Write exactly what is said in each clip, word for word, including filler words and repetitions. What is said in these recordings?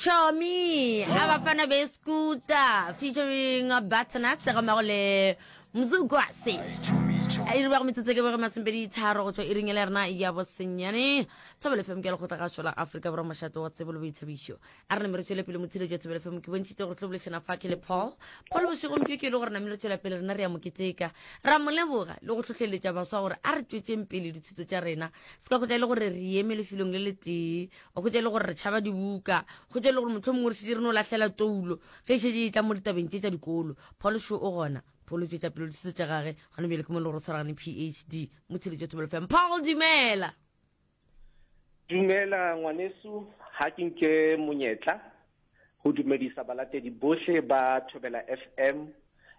Chomi abafana beskuta featuring Butternut ga mmago le Mzukwase. E re bago metsotso ke bego masomepedi tharo go tšwa iring ya rena ya bosenyane. Thobela F M ke lekgotla la Afrika Borwa, mošate wa tsebo le boithabišo. A re name re tšwele pele motshiletšo wa Thobela F M. Ke bontšhitše gore tlo bolešana fa ke le Paul. Paul bošegong bjo ke e le gore name re tšwela pele rena re ya moketeka, ra mo leboga le go hlohleletša baswa gore a re tšwetšeng pele dithuto tša rena. Se ka hwetša e le gore re eme lefelong le letee, wa hwetša e le gore re tšhaba dibuka, hwetša e le gore mohlomongwe re šetše re no lahlela toulo ge e šetše e tla mo ditabeng tše tša dikolo. Paul šo o gona, Paul o tšwetša pele dithuto tša gage gona bjale ke mo e le gore o tshwaragane P H D motshiletšo Thobela F M. Paul, dumela. Dumela ngwaneso, ha ke nke monyetla go dumedisa balatedi bohle ba Thobela F M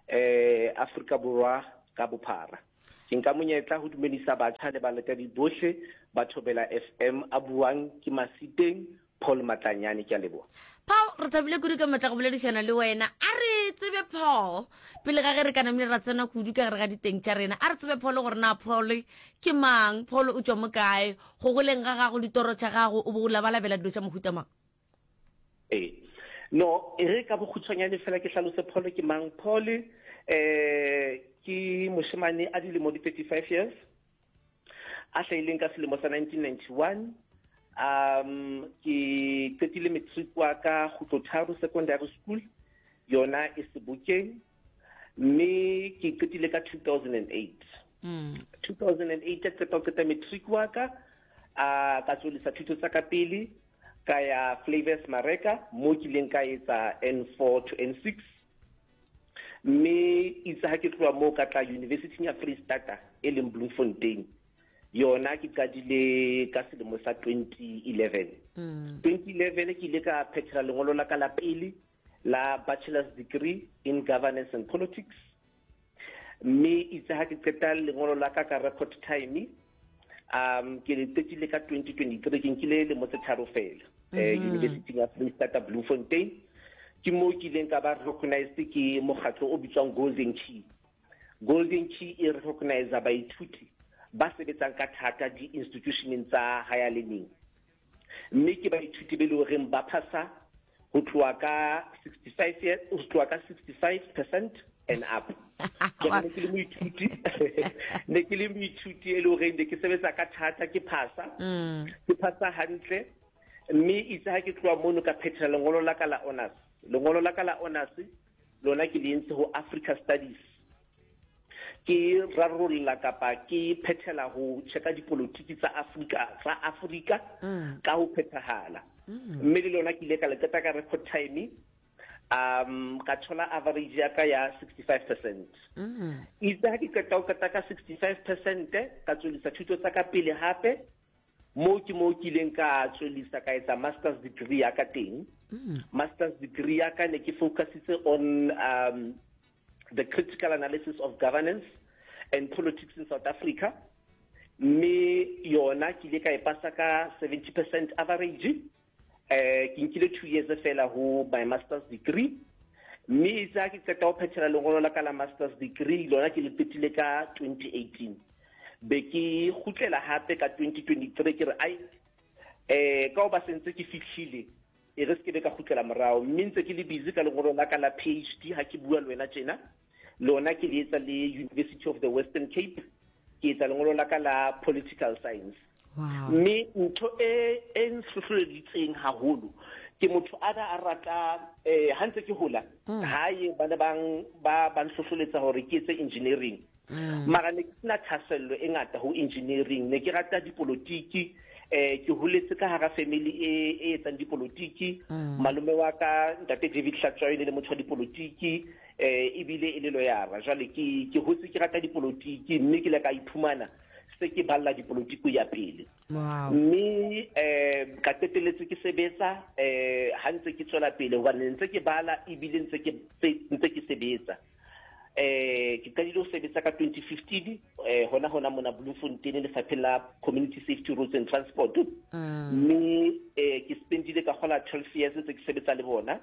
eh Afrika Borwa ka bophara. Ke nka monyetla go dumedisa batjha le balatedi bohle ba Thobela F M a buang ke Masiteng Paul Matlanyane, ke a leboha. Paul, re thabile kudu ka matla go boledišana le wena. A re tsebe Paul, pele ga ge re ka namile ra tsena kudu ka gare ga diteng tša rena, a re tsebe Paul gore na Paul ke mang, Paul o tšwa mo kae, go goleng ga gago, ditoro tša gago, o bo o labalabela dilo tša mohuta mang? Ee, no, e re ka bokgutshwanyane fela ke hlalose Paul ke mang. Paul eh ke moshemane a dilemo di thirty-five years, a hlahileng ka selemo sa nineteen ninety-one. Um ke qetile matric wa ka Kgutlotharo Secondary School, yona e Sebokeng, mme ke qetile ka two thousand and eight. Mm. two thousand and eight ka qeta ho qeta matric wa ka, a ka tswellisa thuto tsa ka pele, ka ya Flavors Mareka mo ke ileng ka etsa N four to N six. Mme itse ha ke tloha moo ka tla University ya Freistata e leng Bloemfontein. Yona ke qadile ka selemo sa twenty eleven. Mm. twenty eleven ke ile ka phethela lengolo la ka la pele la bachelor's degree in governance and politics. Mme itse ha ke qeta lengolo la ka ka record time, um ke le qetile ka twenty twenty-three, ke nkile lemo tse tharo fela, eh, Mm-hmm. University ya Freistata Bloemfontein. Ke moo ke ileng ka ba recognized ke mokgatlo o bitswang Golden Key. Golden Key e recognize baithuti ba sebetsang ka thata di-institutioneng tsa higher learning. Mme ke baithuti be le horeng ba phasa ho tloha ka sixty-five years, ho tloha ka sixty-five percent and up. Ke ne ke le moithuti, ne ke le moithuti e le horeng ne ke sebetsa ka thata, ke phasa. Mm. Ke phasa hantle. Mme itse ha ke tloha mono ka phethela lengolo la ka la honors. Lengolo la ka la honors lona ke le entse ho Africa Studies. Ke rarolla kapa ke phethela ho checka dipolotiki tsa Afrika, tsa Afrika Mm. ka ho phethahala. Mm. Mme le lona ke ile ka le qeta ka record time, um ka thola average ya ka ya sixty-five percent. Mm. Itse ha ke qeta ho qeta ka sixty-five percent, ka tswellisa thuto tsa ka pele hape, moo ke moo ke ileng ka tswellisa ka etsa master's degree ya ka teng. Mm. Master's degree ya ka ne ke focusitse on, um, the critical analysis of governance and politics in South Africa. Mme yona ke ile ka e pasa ka seventy percent average. Eh, ke nkile two years fela ho my master's degree. Mme itse ha ke qeta ho phethela lengolo la ka la master's degree, lona ke le qetile ka twenty eighteen. Be ke kgutlela hape ka twenty twenty-three, ke re, ai, eh, ka hoba se ntse ke fihlile, e re se ke be ka kgutlela morao. Mme ntse ke le busy ka lengolo la ka la P H D ha ke bua le wena tjena. Lona ke le etsa le University of the Western Cape, ke etsa lengolo la ka la political science. Wow. Mme ntho e, e nhlohleleditseng haholo ke motho a na a rata, eh, ha ntse ke hola, Mm. hae ba ne bang, ba, ba nhlohleletsa hore ke etse engineering. Mm. Mara ne ke sena thahasello e ngata ho engineering, ne ke rata dipolotiki, eh, ke holetse ka hara family e, e etsang dipolotiki. Mm. Malome wa ka ntate David Hlatshwayo le motho wa dipolotiki, eh, ebile e le lawyer. Jwale ke, ke hotse ke rata dipolotiki, mme ke ile ka iphumana se ke balla dipolotiki ya pele. Wow. Mme, eh, ka qetelletse ke sebetsa, eh, ha ntse ke tswela pele, hobane ntse ke bala ebile ntse ke, ntse ke sebetsa. Eh, ke qadile ho sebetsa ka twenty fifteen, eh, hona hona mona Bloemfontein lefapheng la Community Safety Roads and Transport. Mm. Mme, eh, ke spendile ka kgola twelve years ntse ke sebetsa le bona.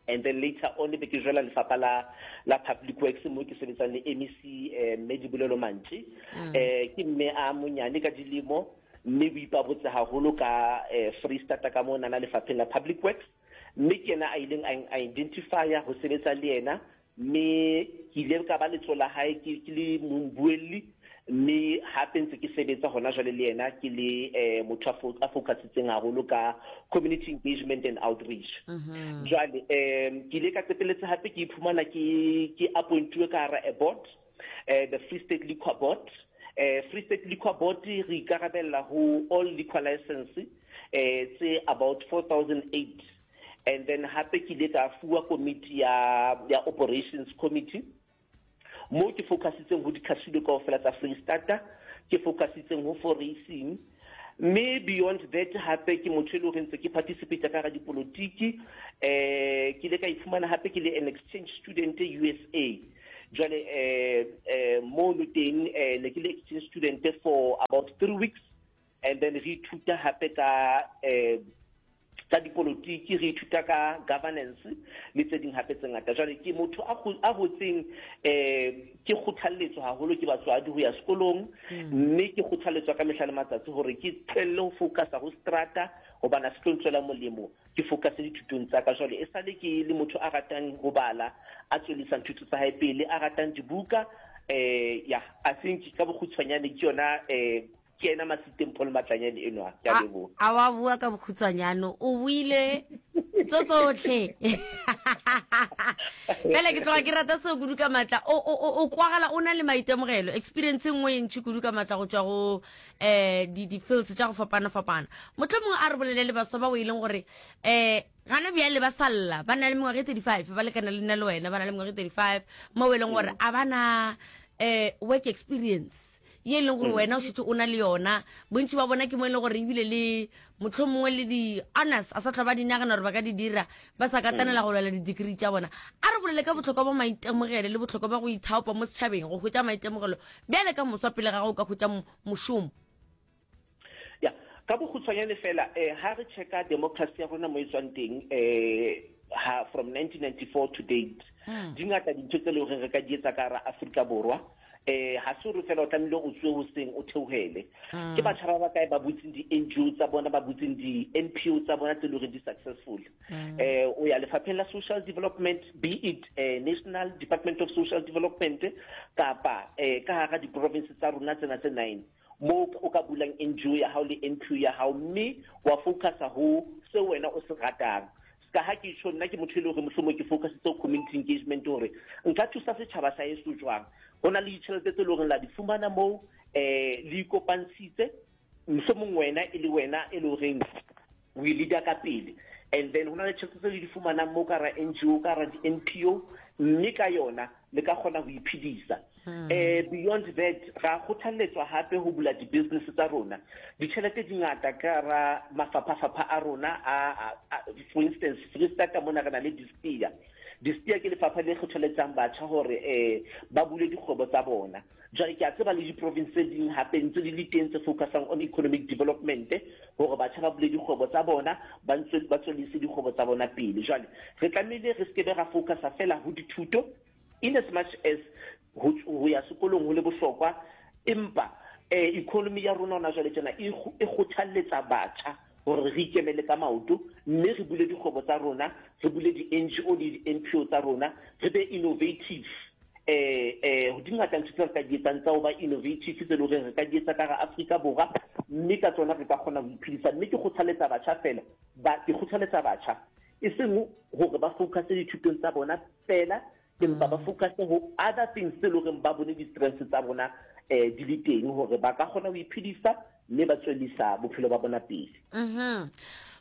And then later on be ke jola lefapha la, la Public Works mo ke sebetsang le M E C, eh, mme Dibolelo Mantši. Mm. Eh, ke mme a monyane ka dilemo, mme o ipabotse haholo ka, eh, Freistata ka monana lefapheng la Public Works. Mme ke yena a ileng a identifya ho sebetsa le yena, mme ke ile ka ba letso la hae ke ke le mobuelli, mme hape ntse ke sebetsa hona jwale le yena ke le eh, motho a focusitseng haholo ka community engagement and outreach. Mhm. Jwale um ke ile ka qetelletse hape ke iphumana ke ke appointuwe ka hara a board, eh, the Free State Liquor Board. eh Free State Liquor Board re ikarabella ho all liquor license eh tse about four thousand eight, and then hape ke ile ka fuwa committee ya ya operations committee, mo ke focusitseng ho di-casino kaofela tsa Freistata, ke focusitseng ho for racing. Mme beyond that, hape ke motho e le horeng ntse ke participate ka hara dipolotiki. eh ke ile ka iphumana hape ke le an exchange student U S A. Jwale eh eh mono teng eh ne ke le exchange student for about three weeks, and then re ithuta hape ka eh ka dipolotiki, re ithuta ka governance le tse ding hape tse ngata. Jwale ke motho a a hotseng eh ke kgothalletswa haholo ke batswadi ho ya sekolong, mme ke kgothalletswa ka mehla le matsatsi hore ke tlohelle ho focusa ho strata hobane a se tlo ntswela molemo, ke focuse dithutong tsa ka. Jwale e sale ke le motho a ratang ho bala, a tswellisang thuto tsa hae pele, a ratang dibuka. eh ya I think ka bokgutshwanyane ke yona. eh ke ena Masiteng Paul Matlanyane enwa, ke a leboha. A wa bua ka bokhutswanyane, o buile tso tsotlhe fela. Ke tloga ke rata seo kudu ka maatla. O o- o kwagala o na le maitemogelo, experience e nngwe e ntšhi kudu ka maatla go tswa go um di-fields tša go fapana-fapana. Motlho mongwe a re bolele le baswa ba o e leng gore um gana bjale ba salla ba na le mengwaga e thirty-five, ba lekana le nna le wena, ba na le mengwaga e thirty-five, mo e leng gore a ba na um work experience ye e leng gore wena o šetse o na le yona. Bontši ba bona ke mo e leng gore ebile le motlho mongwe le di-honors a sa tlhwa ba di nagana gore ba ka di dira, ba sa katanela go lwela di-degree tša bona. A re bolele ka botlhokwa ba maitemogelo le botlhokwa ba go ithaopa mo setšhabeng go hwetša maitemogelo bjale ka moswa pele ga go ka hwetša mo- mošomo. Ya, ka bokgutshwanyane fela, eh ha re checka democracy ya rona mo e tswang teng, eh ha from nineteen ninety-four to date, di ngata dintho tse leng hore re ka di etsa ka hara Afrika Borwa. eh ha se hore fela o tlamehile o tswe hoseng o theohele. Ke batjha ba bakae ba butseng di-N G O tsa bona, ba butseng di-N P O tsa bona tse leng hore di successful? eh o ya lefapheng la social development, be it eh, National Department of Social Development kapa eh ka hara di-province tsa rona tsena tse nine, mo o ka bulang N G O ya hao le N P O ya hao, mme wa focusa ho seo wena o se ratang. Ska ha ke tjho, nna ke motho e leng hore mohlomong ke focusitse ho community engagement, hore nka thusa setjhaba sa heso jwang. Ho na le ditjhelete tse leng hore la di fumana moo, eh le ikopantshitse, mohlomong wena e le wena e le horeng o e leader ka pele, and then ho na le tjhelete tse le di fumanang moo ka hara N G O, ka hara di-N P O, mme ka yona le ka kgona ho iphedisa. eh beyond that, ra kgothalletswa hape ho bula di-business tsa rona. Ditjhelete di ngata ka hara mafapha-fapha a rona a, a, a for instance, Freistata mona re na le DISTEA. DISTEA ke lefapha le kgothaletsang batjha hore eh ba bule dikgwebo tsa bona. Jwale ke a tseba le di-province tse ding hape ntse di le teng tse focusang on economic development, hore batjha ba bule dikgwebo tsa bona, ba ntse ba tswellise dikgwebo tsa bona pele. Jwale re tlamehile re skebe ra focusa fela ho dithuto, in as much as ho ho ya sekolong ho le bohlokwa, empa eh economy ya rona hona jwale tjena e e kgothalletsa batjha hore re ikemele ka maoto, mme re bule dikgwebo tsa rona, re bule di-N G O le di-N P O tsa rona, re be innovative. eh eh di ngata ntho tse re ka di etsang tsa ho ba innovative, tse leng hore re ka di etsa ka hara Afrika Borwa, mme ka tsona re ka kgona ho iphedisa. Mme ke kgothaletsa batjha fela ba ke kgothaletsa batjha e seng hore ba focus dithutong tsa bona fela, empa ba focus ho other things tse leng hore ba bone di-strengths tsa bona eh di le teng, hore ba ka kgona ho iphedisa mme ba tswellisa bophelo ba bona pele. Mhm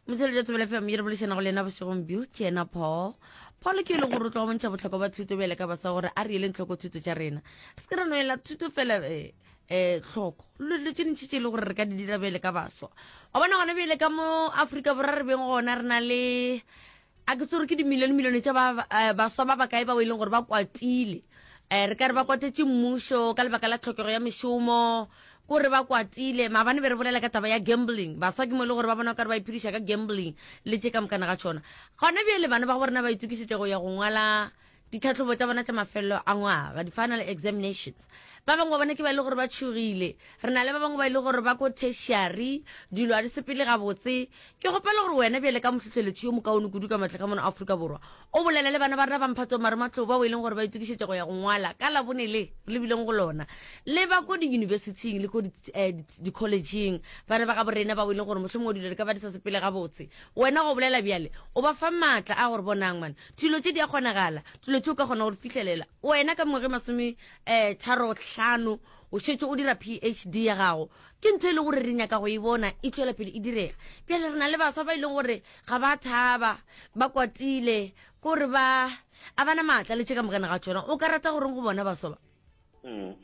motsheletso Thobela F M ye re bolešana go le yena bošegong bjo ke yena Paul. Paul ke e leng gore o tloga bontšha botlhokwa ba thuto bjale ka baswa, gore a re eleng tlhoko thuto tša rena, re se ke ra noela thuto fela um um tlhoko dilo tše dintšhi tše e le gore re ka di dira bjale ka baswa. Wa bona gona bjale ka mo Aforika Borwa re beng gona re na le, a ke tsore ke dimilione milione tša ba- eh, baswa ba bakae bao e leng gore ba kwatile, um re ka re ba kwatetše mmušo ka lebaka la tlhokego ya mešomo, kore ba kwatile. Maabane be re bolela ka taba ya gambling, baswa ke mo e le gore ba bona o kare ba iphediša ka gambling le tše ka mokana ga tšona. Gona bjale bana ba go rena ba itokišetša go ya go ngwala Ditlhatlhobo tša bona tša mafelelo a ngwaga, di-final examinations. Ba bangwe ba bona ke ba e le gore ba tšhogile. Re na le ba bangwe ba e le gore ba ko tertiary, dilo a di sepele gabotse. Ke kgopela gore wena bjale ka mohlohleletši yo mokaone kudu ka matla ka mono Afrika Borwa, o bolele le bana ba rena ba mphato marematlou bao e leng gore ba itokišetša go ya go ngwala ka Labone le re lebileng go lona, le ba ko di-universityng le ko di-collegeng, bana ba gabo rena bao e leng gore mohlomongwe dilo di ka ba di sa sepele gabotse. Wena go bolela bjale o ba fa maatla a gore bonang man, dilo tše di a kgonagala, dilo tše o ka kgona go di fihlelela. Wena ka mengwaga e masome um tharo hlano o šetše o dira P H D ya gago, ke ntho e leng gore re nyaka go e bona e tšwela pele e direga. Bjale re na le baswa ba e leng gore ga ba thaba, ba kwatile, kore ba a bana maatla le tše ka mokana ga tsona. O ka rata goreng go bona baswa ba? Mm.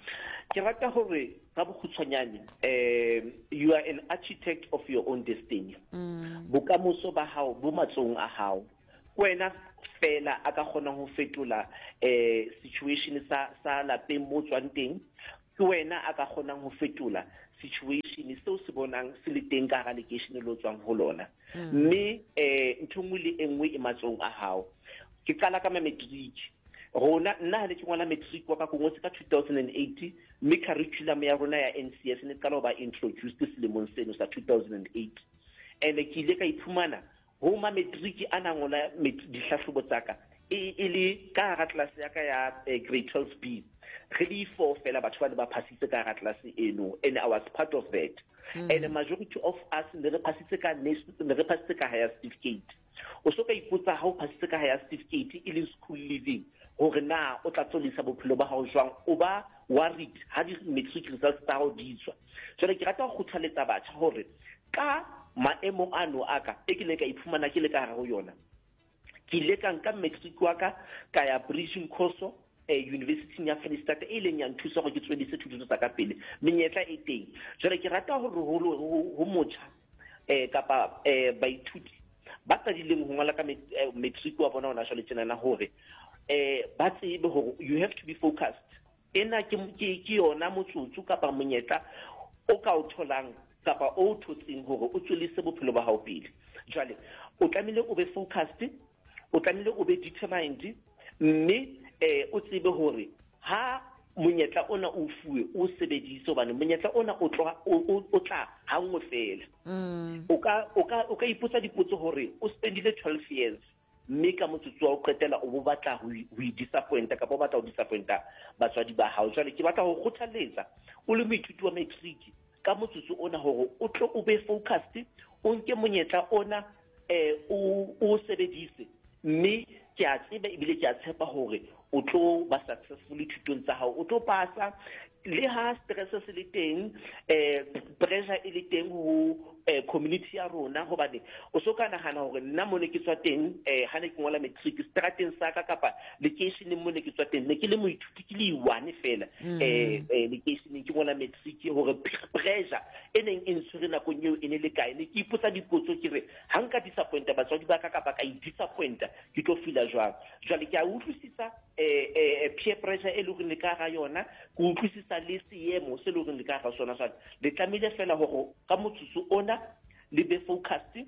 ke rata gore ka bokgutshwanyane, um you are an architect of your own destiny. Bokamoso ba hao bo matsong a hao. Ke wena fela a ka kgonang ho fetola eh situation sa sa lapeng mo tswang teng. Ke wena a ka kgonang ho fetola situation seo se bonang se le teng ka hara lekeishene le o tswang ho lona, mme eh ntho e nngwe le e nngwe e matsong a hao. Ke qala ka ma-matric rona. Nna ha ne ke ngwala matric wa ka, ko ngotse ka two thousand and eight, mme curriculum ya rona ya N C S ne qala ho ba introduced selemong seno sa two thousand and eight. And ke ile ka iphumana ho ma matric a na ngola dihlahlobo tsa ka e e le ka hara tlelase ya ka ya eh, grade twelve B, re le four fela batho ba ne ba phasitse ka hara tlelase eno, and I was part of that mm. And the majority of us ne re phasitse ka ne re phasitse ka higher certificate. O so ka ipotsa ha o phasitse ka higher certificate, e leng school leaving, hore na o tla tswellisa bophelo ba hao jwang. O ba worried ha di-matric results tsa hao di tswa. Jwale ke rata ho kgothaletsa batjha hore ka maemo ano a ka e ke ile ka iphumana ke le ka hare ho yona, ke ile ka nka matric wa ka, ka ya bridging course eh, university ya Freistata, e leng ya nthusa gore ke tswellise thuto tsa ka pele. Menyetla e teng. Jwale ke rata hore ho motjha eh kapa eh baithuti ba qadileng ho ngola ka matric wa bona hona jwale tjenana, hore eh ba tsebe hore you have to be focused. Ena ke ke yona motsotso kapa monyetla o ka o tholang kapa o thotseng hore o tswellise bophelo ba hao pele. Jwale o tlamehile o be focused, o tlamehile o be determined, mme eh o tsebe hore ha monyetla ona o fuwe, o sebedise, hobane monyetla ona o tla o tla hanngwe fela. O ka o ka o ka ipotsa dipotso hore o spendile twelve years, mme ka motsotso wa o qetela o bo batla ho i-disappointa kapa o batla ho disappointa batswadi ba hao. Jwale ke batla ho kgothaletsa o le moithuti wa matric ka motsotso ona hore o tlo o be focused, o nke monyetla ona, eh o o sebedise, mme ke a tseba ebile ke a tshepa hore o tlo ba successful thutong tsa hao, o tlo pasa le ha stress se le teng, eh pressure e le teng ho eh, community ya rona. Hobane o so ka nahana hore nna mo ne ke tswa teng, eh ha ne ke ngola matric, strateng sa ka kapa lekeisheneng mo ne ke tswa teng, ne ke le moithuti ke le one fela eh eh lekeisheneng ke ngola matric, hore pressure e neng e ntshwere nakong eo e ne le kae. Ne ke ipotsa dipotso ke re, ha nka disappointa batswadi ba ka kapa ka i-disappointa, ke tlo feela jwang? Jwale ke a utlwisisa eh eh peer pressure e leng hore le ka ga yona, ke utlwisisa le seemo se leng hore le ka ga sona. Jwale le tlamehile fela hore ka motsotso ona le be focused,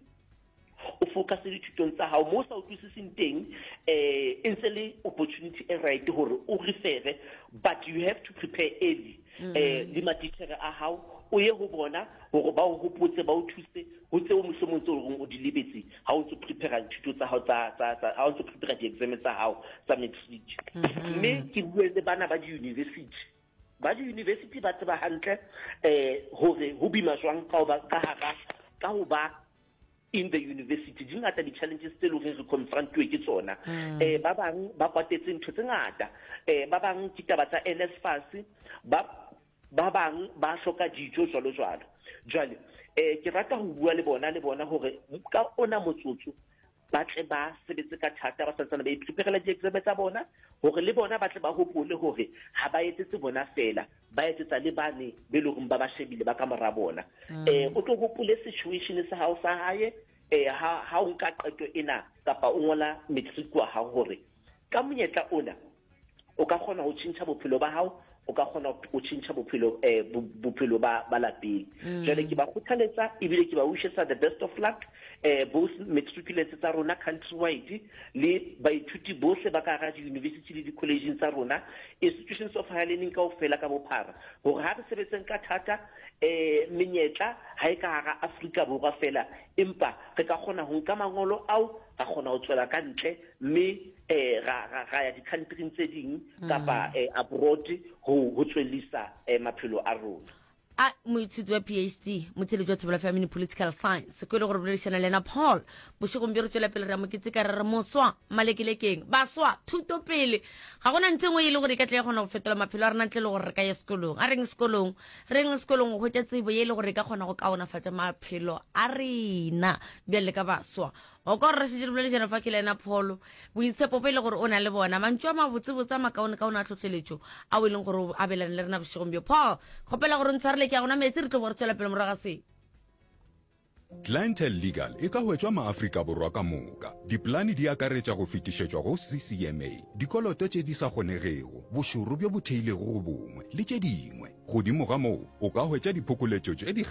o focus dithutong tsa hao. Mo o sa utlwisising teng, eh e ntse le opportunity e right hore o refere, but you have to prepare early. eh le matitjhere a hao, o ye ho bona hore ba o hopotse, ba o thuse ho tseo mohlomong tse horeng o di lebetse ha o ntso prepare dithuto tsa hao tsa tsa tsa ha o ntso prepare di-exam tsa hao tsa matric. Mme ke bue le bana ba di-university. Ba di-university ba tseba hantle eh hore ho bima jwang ka ho ba ka hara ka ho ba in the university. Di ngata di-challenges tse leng horeng re confrontuwe ke tsona. eh ba bang ba kwatetse ntho tse ngata, eh ba bang ke taba tsa N S F A S, ba ba bang ba hloka dijo, jwalo jwalo. Jwale eh ke rata ho bua le bona le bona hore ka ona motsotso ba tle ba sebetse ka thata, ba santsane ba ipreparela di-exam tsa bona, hore le bona ba tle ba hopole hore ha ba etsetse bona fela, ba etsetsa le bane be leng hore ba ba shebile ba ka mora bona. eh o tlo hopole situation sa hao sa hae eh ha ha o nka qeto ena kapa o ngola matric wa hao, hore ka monyetla ona o ka kgona ho tjhentjha bophelo ba hao. o ka kgona o tšhentšha bophelo eh, bophelo ba ba lapeng mm. jwale ke ba kgothaletsa ebile ke ba wishetsa the best of luck eh, both matriculants tsa rona countrywide le baithuti bohle ba ka hara di-university le di-collegeng tsa rona institutions of higher learning kaofela ka bophara hore ha re sebetseng ka thata eh menyetla ha e ka hara Afrika Borwa fela empa re ka kgona ho nka mangolo ao ra kgona ho tswela ka ntle mme eh ra ra ra ya di-countryng tse ding kapa eh, abroad ho ho tswellisa eh, maphelo a rona A moithuti wa P H D, motheletši wa Thobela Family Political Science, ko e le gore boledišana le yena Paul bošegong bjo. Re tšwela pele re ya moketse ka re re moswa malekelekeng baswa thuto pele ga gona ntho e nngwe e le gore e ka tle ya kgona go fetola maphelo a rena ntle le gore re ka ya sekolong. A reng sekolong, reng sekolong go hwetša tsebo ye e le gore e ka kgona go kaonafatša maphelo a rena bjale ka baswa. O ka gore re šetše re boledišana fa ke le ena Paul, boitshepo bo e le gore o na le bona, mantšu a mabotsebotse a makaonekaone a tlhotlheletšo ao e leng gore o abelane le rena bošegong bjo. Paul, kgopela gore o ntshwarele, ke ya gona metsi, re tlo bo re tswela pele morago ga se. Clientele Legal e ka hwetšwa maAfrika Borwa ka moka. Dipolane di akaretša go fetišetšwa go C C M A, dikoloto tše di sa kgonegego, bošoro bjo bo theilego go bongwe le tše dingwe. Godimo ga moo, o ka hwetša diphokoletšo tše di